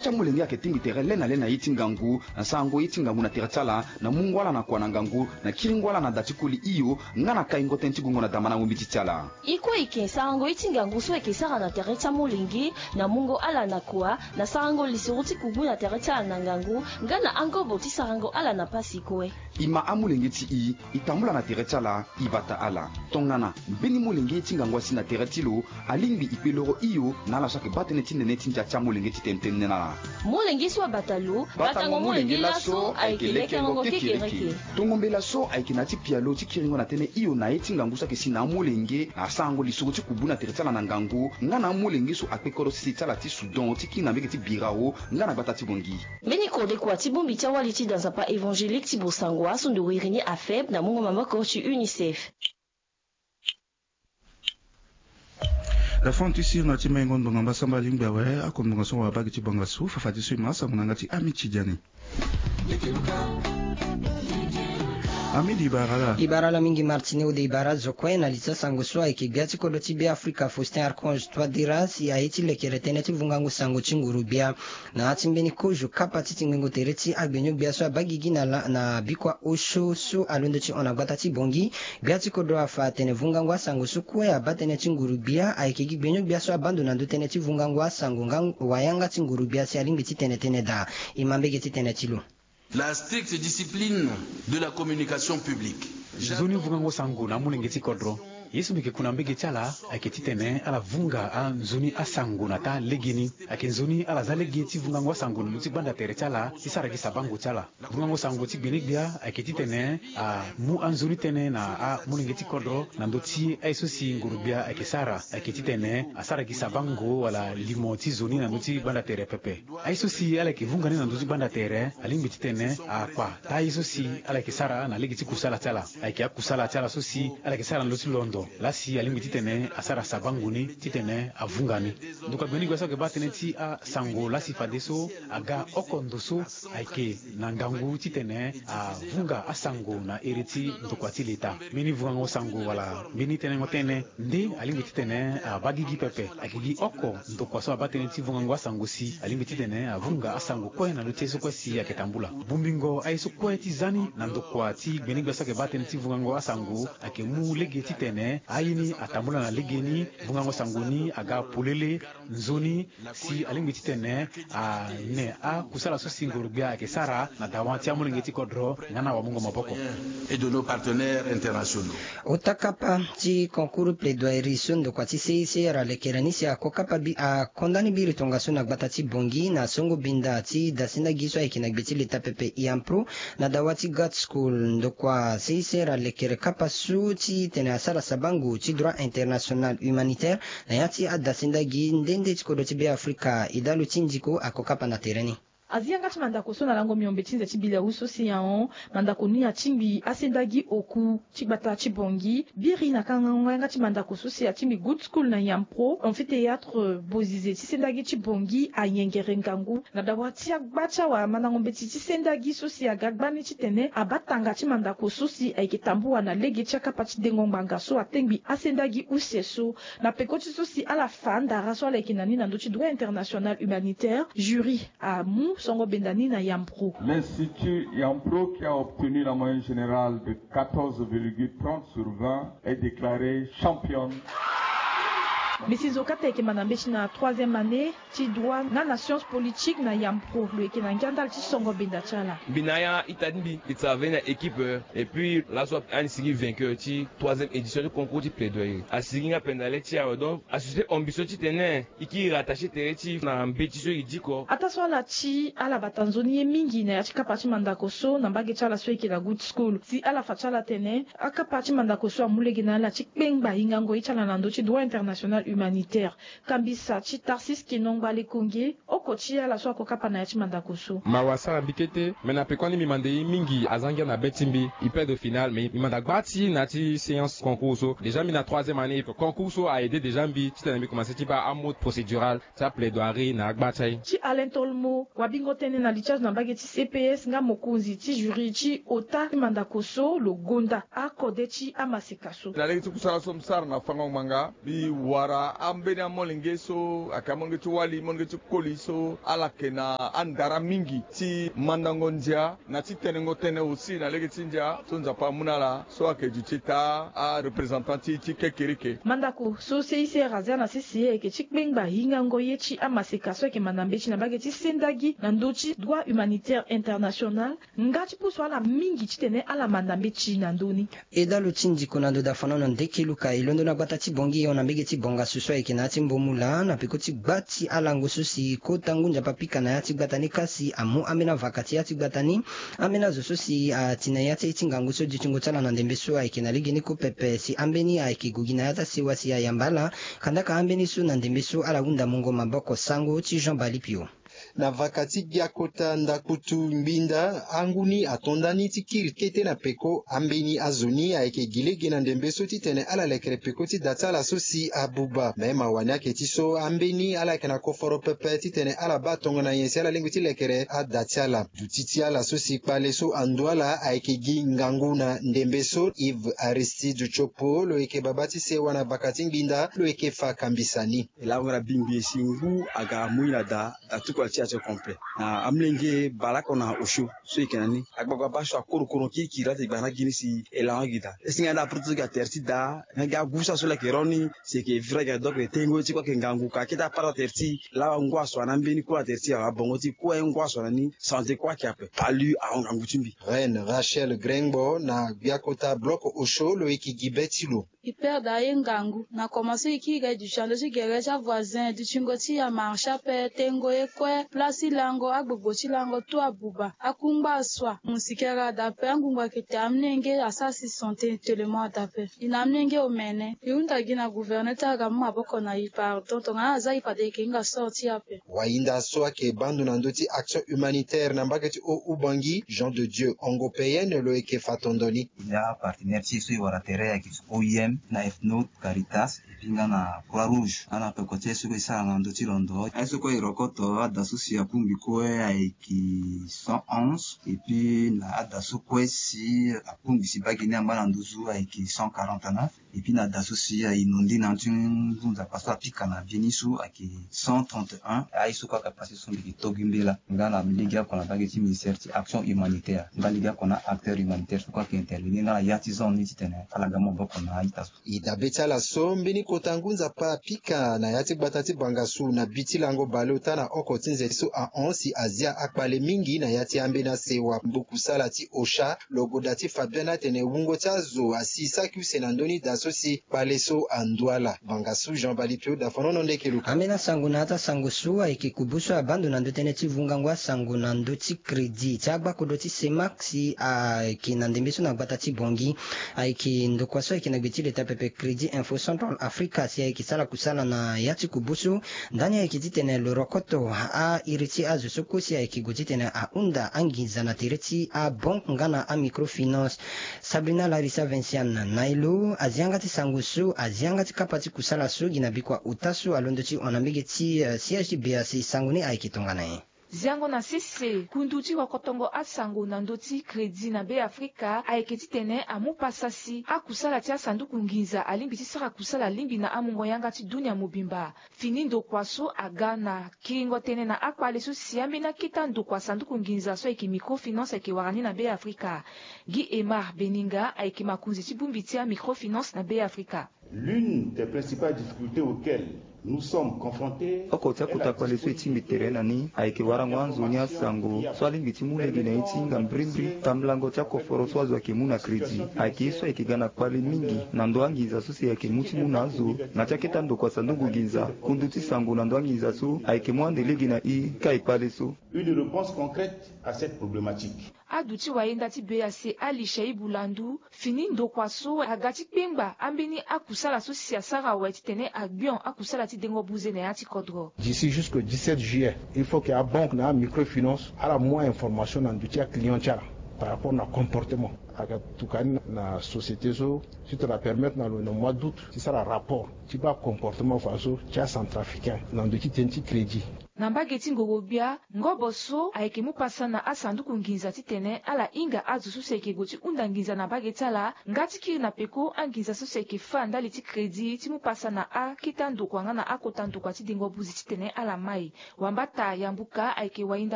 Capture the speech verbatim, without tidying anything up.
Ti amolenge ayeke tingbi tere le na le na ye ti ngangu, na sarango ye ti ngangu na tere ti ala, na mungo ala na kua na ngangu, na kiringo ala na da ti koli hio, nga na kaingo tënë ti gongo na damandango mbeti ti ala. E kue e yeke sarango ye ti ngangu so e yeke sara na tere ti amolenge, na mungo ala na kua, na sarango lisoro ti kubu na tere ti ala na ngangu, nga na angobo ti sarango ala na pasi kue. E ma amolenge ti e, e tambula na tere ti ala, e bata ala. Tongana mbeni molenge ti ngangu asi na tere ti lo, alingbi e kpe loro hio na ala so ayeke baa tënë ti nene ti ndia ti amolenge ti tene tënë na ala. Molenge so abata lo, batango molenge laso ayeke lekerengo kekereke. Tongo mbela so ayeke na ya ti pialo ti kiringo na tënë hio na ye ti ngangu so ayeke si na amolenge, na asarango lisoro ti kubu na tere ti ala na ngangu, nga na amolenge so akpe kodro sese ti ala ti Soudan ti kiri na mbege ti Birao, nga na gbata ti Bangui. Mbeni kode kua ti bongbi ti awali ti da nzapa évangélique ti Bosangua so ndo wiri ni AFEB na mungo maboko ti UNICEF. Lafon ti sirna ti maingo ndonga mbasamba alingbi awe, ako ndonga so wabagi ti bonga so, fafati so e ma asango na yanga ti Ami Tidiane. Ami di bara la. Di bara la mingi Martine, ode di bara zo kue na li ti asango so ayeke gbia ti kodro ti Beafrika Faustin Archange Touadéra si aye ti lekere tënë ti vungango sango ti nguru gbia. Na ya ti mbeni kozo kapa ti tingbingo tere ti agbenyo-gbia so abaa gigi na la, na bikua osio so alondo ti hon na gbata ti Bangui, gbia ti kodro afa atene vungango asango so kue abaa tënë ti nguru-gbia ayeke gi gbenyo-gbia so abaa ndo na ndö tënë ti vungango asango nga wayanga ti nguru-gbia si alingbi ti tene tënë daa. E ma mbege ti tënë ti lo. La stricte discipline de la communication publique. Nzoni vungango sango na amolenge ti kodro. Ye so mbi yeke ku na mbege ti ala ayeke titene ala vunga anzoni asango na taa legeni. Ayeke nzoni ala za lege ti vungango asango na ndö ti gbanda tere ti ala ti sara gi sabango ti ala. Vungango sango ti gbene-gbia ayeke titene amu anzoni tënë na amolenge ti kodro na ndö ti aye so si nguru-gbia ayeke sara. Ayeke titene asara gi sabango wala limo ti zo ni na ndö ti gbanda tere pepe. Aye so si ala yeke vunga ni na ndö ti gbanda tere alingbi titene akpa taa ye so si ala yeke sara na lege ti kusala ti ala. Ayeke akusala ti ala so si ala yeke sara na ndö ti londo laa si alingbi titene asara sabango ni titene avunga ni. Ndokua gbene-gbia so ayeke baa tënë ti asango laa si fadeso aga oko ndo so ayeke na ngangu titene avunga asango na ere ti ndokua ti leta. Mbeni vungango sango wala mbeni tenengo tënë nde alingbi titene abaa gigi pepe. Ayeke gi oko ndokua so abaa tënë ti vungango asango si alingbi titene avunga asango kue na ndö ti ye so kue si ayeke tambula. Bongbingo aye so kue ti za ni na ndokua ti gbene-gbia so ayeke baa tënë ti vungango asango ayeke mu lege titene aye ni atambula na legeni. Vungango sango ni aga polele nzoni si alingbi titene ane akusala so si ngoro-gbia ayeke sara na dawa ti amolenge ti kodro nga na wamungo maboko. Et de nos partenaires internationaux. Ota kapa ti concours plaidoirie so ndokua ti C I C R alekere ni si ako kapa bi, akonda ni biri tongaso na gbata ti Bangui na songo binda ti dasenda gi so ayeke na gbe ti leta pepe Iampro na dawa ti Gad School. Ndokua C I C R alekere kapa so ti tene asara sabango ti droit international humanitaire na ya ti adasenda gi nde nde ti kodro ti Beafrika. Idalo ti Ndiko ako kapa na tere ni. Azi yanga ti mandako so na lango miombe ti nze ti bilewu so si ahon mandako ni atingbi asenda gi oku ti gbata ti Bangui. Biri na kangango yanga ti mandako so si atingbi Good School na Iampro, amphithéâtre Bozize ti senda gi ti Bangui ayengere ngangu na dawa ti agba ti awamandango mbeti ti senda gi so si aga gbani titene abaa tanga ti mandako so si ayeke tambua na lege ti akapa ti dengo ngbanga so atengbi asenda gi use so. Na peko ti so si ala fa andara so ala yeke na ni na ndö ti droit international humanitaire, jury amu songo benda ni na Iampro. L'Institut Iampro qui a obtenu la moyenne générale de quatorze virgule trente sur vingt est déclarée championne. Mbi si nzokata ayeke ma na mbeti na troisième année ti droit nga na science politique na Iampro. Lo yeke na ngia ndali ti songo benda ti ala. Mbi na ya ita ti mbi, mbi travailler na équipe, euh, et puis laso ani sigi vainqueur ti troisième édition ti concours ti plaidoyer. Asigi nga pendale ti awe, donc asuspe ambition titene e kiri rattacher tere ti na mbeti so e diko. Ataa so ala ti ala bata nzoni ye mingi na ya ti kapa ti mandako so na mbage ti ala so e yeke na Good School. Si ala fa ti ala tene akapa ti mandako so amu lege na ala ti kpengba hingango ye ti ala na ndö ti droit international humanitaire. Kambisa ti Tarsis Kinongba Lekonge, oko ti ala so ako kapa na ya ti mandako so. Mawa asara mbi kete, me na peko ni mbi manda ye mingi aza ngia na be ti mbi. E perdre final, me mbi manda gba ti na ya ti séance concours so. Déjà mbi na troisième année, concours so a aidé déjà mbi titene mbi commencer ti baa amode procédural ti aplaidoirie na agba ti aye. Ti Alain Tolmo, wabingo tënë na li ti azo na mbage ti C P S nga mokonzi ti jury ti ota ti mandako so, lo gonda akode ti amaseka so. Na lege ti kusala so mbi sara na fango ngbanga, mbi wara Ambeni amolenge so ayeke amolenge ti wali, molenge ti koli so ala yeke na andara mingi ti mandango ndia na ti tenengo tënë aussi na lege ti ndia so Nzapa amu na ala so ayeke duti taa areprésentant ti kekereke. Mandako so C I C R azia na sese ayeke ti kpengba hingango ye ti amaseka so ayeke manda mbeti na mbage ti sendagi na ndö ti droit humanitaire international. Nga ti pusu ala mingi titene ala manda mbeti na ndö ni. E dalo ti ndiko na ndo dafanono ndeke luka e londo na gbata ti Bongi hon na mbege ti Bongasu so ayeke na ya ti Mbomula na peko ti gba ti alango so si kota ngu Nzapa apika na ya ti gbata ni kasi amu ambeni avaka ti ya ti gbata ni. Ambeni azo so si ati na ya ti aye ti ngangu so dutingo ti ala na ndembe so ayeke na legeni ko pepe si ambeni ayeke gue gi na ya ti asewa si ayamba ala. Kandaka ambeni so na ndembe so ala hunda mungo maboko sango ti Jean Balipio. Na vaka ti gbia kota ndakutu ngbinda angu ni ato nda ni ti kiri kete na peko. Ambeni azo ni ayeke gi lege na ndembe so titene ala lekere peko ti da ti ala so si abuba. Me mawa ni ayeke ti so ambeni ala yeke na koforo pepe titene ala baa tongana nyen si ala lingbi ti lekere ada ti ala. Duti ti ala so si kpale so andu ala ayeke gi ngangu na ndembe so. Yves Aristide Tiopo lo yeke baba ti sewa na vaka ti ngbinda lo yeke fa kambisa ni. E laongo na bingbi e si ngu aga amui na da. Da ti kua ti action complet na amolenge baleoko na osio so e yeke na ni. Agbagba baa so akoro koro kirikiri laa ti gba na gi ni si e laongo gi da. E si nga nda aproto so gi na tere ti da nga gi agu so aso laa e yeke ro ni si e yeke vira gi na donc e tengo ti kue ayeke ngangu ka kete apara tere ti laa ngu aso na ambeni kue na tere ti abongo ti kue ngu aso na ni. Santé kue ayeke ape palu ahon ngangu ti mbi. Reine Rachel Grengbo na gbia kota bloc osio lo yeke gi be ti lo. E perdre aye ngangu na komanse e kiri ga e duti na ndö ti gere ti avoisin dutingo ti amarché ape tengo ye kue place ti lango agbogbo ti lango tout abuba akungba asua musikere ada ape angungu ayeke te amolenge asara si santé tellement ada ape. E na amolenge omene e hunda gi na gouverneur ti aga mu maboko na e pardon tongana aza e fade e yeke hinga sort ti e ape. Wahinda so ayeke baa ndo na ndö ti action humanitaire na mbage ti haut Ubangi Jean de Dieu Ongo Peyenne lo yeke fa tondo ni. Ya partenaire ti e so e wara tere ayeke ti O I M na F N O Caritas et puis nga na Croix Rouge nga na peko ti aye so kue e sara na ndö ti londo aye so kue e rokoto ada so si akungbi kue ayeke cent onze et puis na ada so kue si akungbi si baa gi ni amba na nduzu ayeke cent quarante-neuf. Et puis na da so si aye nondi na ndö ti ngu Nzapa so apika na mbeni so ayeke cent trente et un aye so kue ayeke pase so mbi yeke to gi mbela nga na legeoko na mbage ti ministère ti action humanitaire nga legeoko na acteur humanitaire so kue ayeke intervenir nga na ya ti zone ni titene ala ga maboko na a-ita so. E dabe ti ala so mbeni kota ngu Nzapa apika na ya ti gbata ti Bangassou na bi ti lango baleota na oko ti nze so ahon si azia akpale mingi na ya ti ambeni asewa mbuku sala ti Ocha. Lo goda ti fa biani atene wungo ti azo asi saki use na ndö ni da so si kpale so andu ala. Bangassou Jean Balipio dafanono ndeke luka. Ambeni asango na ya ti asango so ayeke kubu so abaa ndo na ndö tënë ti vungango asango na ndö ti crédit ti agbakodro ti Cemac si ayeke na ndembe so na gbata ti Bongi. Ayeke ndokua so ayeke na gbe ti leta pepe Crédit Info Central Africa si ayeke sara kusala na ya ti kubu so. Ndani ayeke titene lo rokoto a-iri ti azo so kue si ayeke gue titene ahunda anginza na tere ti abanke nga na amicrofinance. Sabrina Larissa Vinciane na e lo azi yanga ti sango so azi yanga ti kapa ti kusala so gi na bikua ota so alondo ti hon na mbege ti siège ti B A C sango ni ayeke tongana nyen? Ziango na sese kundu ti rokotongo asango na ndö ti crédit na Be Afrika ayeke titene amu pasa si akusala ti asanduku nginza alingbi ti sara kusala lingbi na amungo yanga ti dunia mobimba. Fini ndokua so aga na kiringo tënë na akpale so si ambeni akete ndokua sanduku nginza so ayeke microfinance ayeke wara ni na Be Afrika. Guy Emar Beninga ayeke makonzi ti bongbi ti amicrofinance na Be Afrika. L'une des principales difficultés auxquelles nous sommes confrontés. Oko ti akota kpale so e tingbi tere na ni ayeke warango anzoni asango so alingbi ti mu lege na ye ti hinga mbrimbri tambulango ti akoforo so azo ayeke mu na crédit. Ayeke ye so ayeke ga na kpale mingi na ndo anginza so si ayeke mu ti mu na azo na ti akete ndokua sanduku nginza. Kundu ti sango na ndo anginza so ayeke mu ande lege na e ka e kpale so. Une réponse concrète à cette problématique. Aduti wayenda ti B A C Ali Shaibu Landu fini ndokua so aga ti kpengba ambeni akusala so si asara awe titene agbion akusala ti dengo buze na ya ti kodro. D'ici jusqu'au dix-sept juillet il faut que abanke na amicrofinance ala mu ainformation na ndo ti aclient ti ala par rapport na comportement aga tuka ni na société so ti tara permettre na lo na mois d'août ti sara rapport ti baa comportement faso ti acentrafricain na ndo ti tënë ti crédit. Na mbage ti ngoro-gbia, ngobo so ayeke mu pasa na asanduku nginza titene ala hinga azo so si ayeke gue ti hunda nginza na mbage ti ala nga ti kiri na peko anginza so si ayeke fâ ndali ti kredi ti mu pasa na akete andokua nga na akota ndokua ti dengo buzi titene ala mai. Wambata yambuka ayeke wahinda